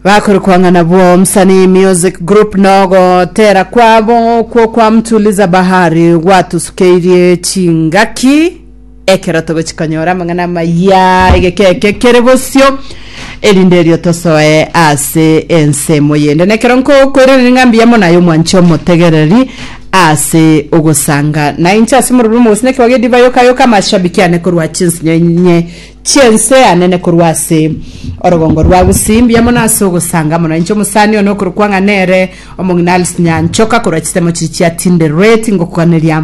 Bakorokwa ng'a nabwo Msanii Music Group nogotera kwabo okwo kwa Mtuliza Bahari gwatusukeirie chingaki ekero togochi konyora amang'ana amaya egeke eke kere bosio erinde erio tosoe ase ensemo yende nekero nkokoiraneria ng'a mbuya mono aye omwanchi omotegereri ase ogosanga nainche ase omorobio omogusii nekebago ediva yoka yoka amashabiki ane korwa chinsinyo inye Chi'ense anene korwa ase orogongo rwa Gusii. Mbuya mono ase ogosanga mono. Inche omosani one okorokwa ng'a nere omong'ina Alice Nyanchoka korwa chisemo chiria chia Tinderet ngokoganeria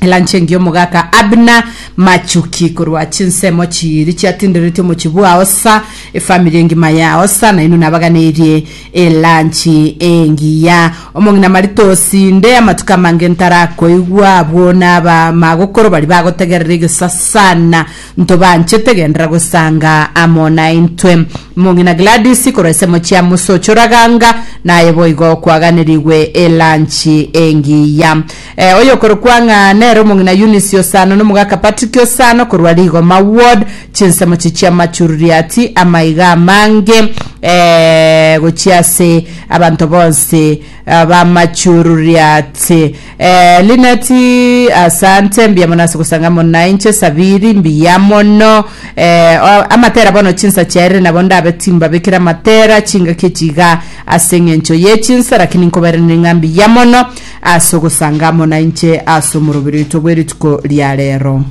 elanchi engiya omogaka Abner Machuki korwa chinsemo chiiri chia Tinderet omochie bwa Osa efamiri engima ya Osa nainwe nabaganeirie elanchi engiya. Omong'ina Marita osinde amatuko amange ntarakoigwa abwo naba magokoro baria bagotegerera egesasana Ntobanchete genderera gosanga amo naintwe. Mong'ina Gladys korwa esemo chia Musocho Raganga naye boigo kwaganerigwe elanchi engiya. Eh, oyokorokwa ng'a nere omong'ina Eunice Osano na omogaka Patrick Osano korwa Rigoma Ward chinsemo chi chia Machururiati amaiga amange eh, gochia ase abanto bonsi Abamachururiati. Eh, Lineti, asante, mbuya mono ase gosanga amo nainche. Sabiri, mbuya mono. Eh, o- amatera bono chinsa chiaerire nabo ndabe timbabekera amatera chingaki echi iga ase eng'encho ye chinsa lakini nkobairaneria ng'a mbuya mono ase ogosanga amo nainche ase omoroberi oito bwe rituko ria rero.